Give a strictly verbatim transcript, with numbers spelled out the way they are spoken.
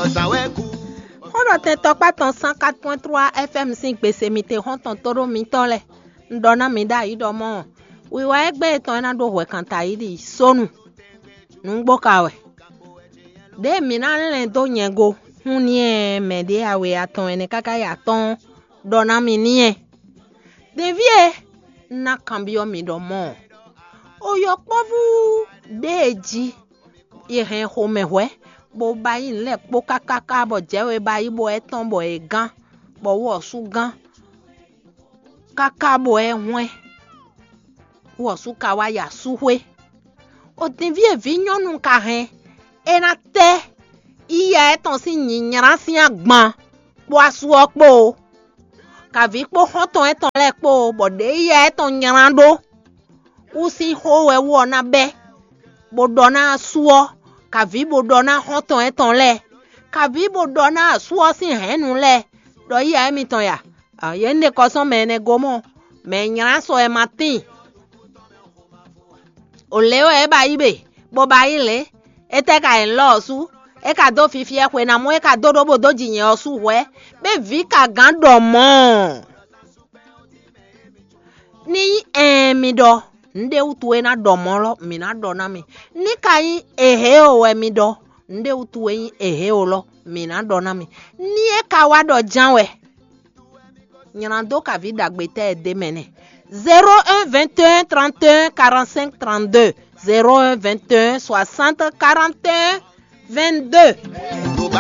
Xó ɖɔ tɛn tɔkpá tɔn cent quatre point trois F M sín gbese mi te xɔ́ntɔn tóɖó mitɔ́ lɛ́ɛ. Un ɖɔ ná mi ɖ'ayǐ ɖɔ mɔ̌, wiwa égbé yětɔn é ná ɖó hwɛkanta yi ɖi sónu. Nǔgbó ka wɛ. Ɖěe mǐ ná lɛn dó nyɛ go hún n'i ɛ mɛ ɖě awe atɔn ɛnɛ káká yi atɔ́ɔ́n ɖɔ ná mi n'i ɛ. Ɖeví e, un ná kanbyɔ́ mi ɖɔ mɔ̌, o yɔkpɔ́vú ɖěe jí è hɛn xomɛhwɛ́, bó ba yí nǔ lɛ́ɛ kpó kákáká bɔ jɛ̌ we ba yí bɔ é tɔ́n bɔ è gán, bɔ wú ɔ́ sú gán, káká bɔ é hwɛ́n, wú ɔ́ sú ka wá yi asúxwé. O dinví e vǐ nyɔ́nu ka hɛn, é ná tɛ́ yíyá étɔn sín nyǐnylá sín agban kpó asú ɔ́ kpó o, kavǐ kpó xɔ́ntɔn étɔn lɛ́ɛ kpó o, bɔ ɖě yíyá étɔn nylá ɖó wú sín xó wɛ wú ɔ́ ná bɛ́, bó ɖɔ ná asú ɔ́, kavǐ bó ɖɔ ná xɔ́ntɔn étɔn lɛ́ɛ, kavǐ bó ɖɔ ná asú ɔ́ sín hɛ̌nnu lɛ́ɛ, ɖɔ yíyá émítɔn ya. Yě un ɖe kɔ sɔ́ mɛ ɛnɛ go mɔ́, mɛ e nylá sɔ wɛ ma tíin. O lě wɛ é ba yí be, bó ba yí lě. Étɛ́ ka nyí lɔ ɔ́ sú? É ka dó fifi ɛ xwe ná mɔ é ka dó ɖó bó dó ji nyɛ ɔ́ sú hwɛ̌, bɛ́ vǐ ka gǎn ɖɔ mɔ̌. Ní nyí ɛɛn mi ɖɔ, nǔɖé wútu é ná ɖɔ mɔ̌ lɔ, mǐ ná ɖɔ ná mi. Ní ka nyí ehě o wɛ mi ɖɔ, nǔɖé wútu é nyí ehě o lɔ, mǐ ná ɖɔ ná mi. Ní é ka wá ɖɔ ján wɛ, nylá dó kaví ɖagbe tɛ́ ɛ d'é mɛ nɛ́. Zéro un vingt et un trente et un quarante-cinq trente-deux, zéro un vingt et un soixante quarante et un vingt-deux.